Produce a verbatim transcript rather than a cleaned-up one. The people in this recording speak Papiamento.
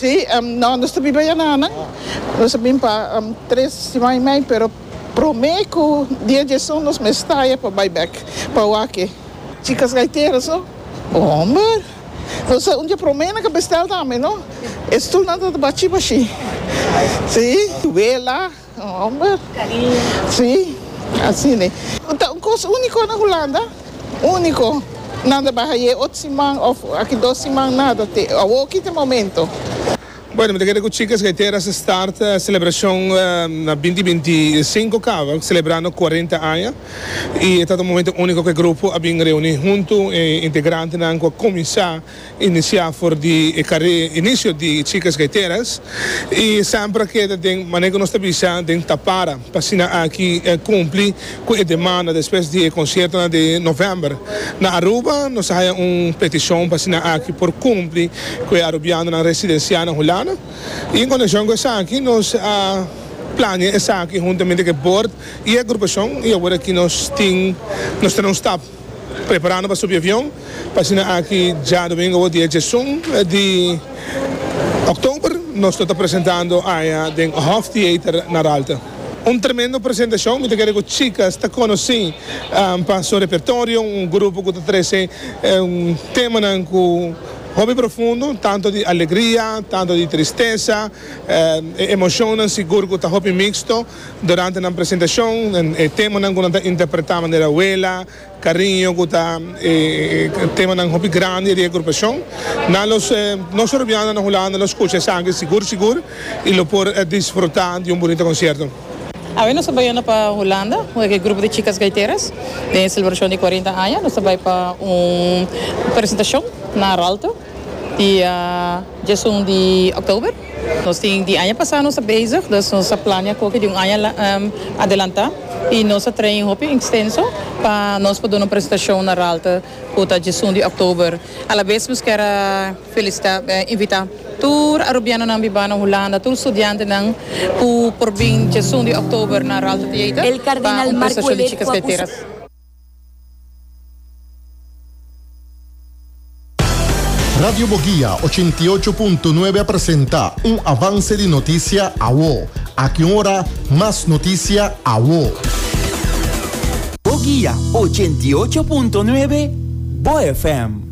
Si, um, no, nos ta biba ayanan. Nos a bin pa um, tres siman y mey, pero prome cu dia diesun nos mester ta aya pa bay back, pa wak e. Chicas Gaiteras, no? Homber. Nos un dia prome nan a bestel tambe, no? E stoelnan ta bashi bashi. Si, wela, homber. Si, asina, ne? Ta un cos unico na Hulanda, unico. Nan ta bay otro siman of aki dos siman nada te. Awor aki ta momento. Bueno, mi ta kere cu Chicas Gaiteras a start e celebracion uh, na binti binti cinco caba, celebrando cuarenta aña. Y ta un momento unico cu e grupo a bin reuni hunto, e integrantenan a cuminsa inicia for di e inicio di Chicas Gaiteras. Y semper cu tin, manera cu nos ta bisa, den tapara, pa asina aki eh, cumpli cu e demanda despues di concierto di november. Na Aruba, nos a haya un peticion pa asina aki por cumpli cu e Arubianonan residencia na Hulanda. Y en conexion cu esaki, nos a plania esaki huntamente cu e board y e agrupacion y awor aki nos tin nos tin un stap preparando pa subi avion pa asina aki diadomingo dia diesun di october nos ta presentando aya den Hof Theater na Raalte. Un tremendo presentacion, mi ta kere cu Chicas ta conoci um, pa su repertorio, un grupo cu ta trece un tema cu hopi profundo, tanto di alegria, tanto di tristesa, eh, emocion sigur cu ta hopi mixto durante e presentacion, e tema cu ta interpreta manera wela, cariño, cu ta eh, tema hopi grandi di agrupacion. Na los eh, nos Arubiano na Hulanda lo scucha esaki sigur sigur y lo por eh, disfruta di un bunita concierto. Awe nos ta bay pa Hulanda, e grupo di Chicas Gaiteras, den celebracion di cuarenta aña. Nos ta bay pa un presentacion na Raalte, dia diesun di october. Nos tin di aña pasa nos ta bezig, dus nos a plania cu di un aña um, adelanta. Y nos a train hopi extenso pa nos por duna un presentacion na Raalte, cu ta diesun di october. A bes nos kier felicita, eh, invita tur Arubianonan biba na Hulanda, tur studiantenan cu por bin diesun di october na Raalte Theater. El cardenal pa un Marco presentacion di Ouellet Chicas fue Gaiteras. Radio Boguia ochenta y ocho punto nuebe presenta un avance di noticia awo. Aki un ora, mas noticia awo. Boguia ochenta y ocho punto nuebe Bo F M.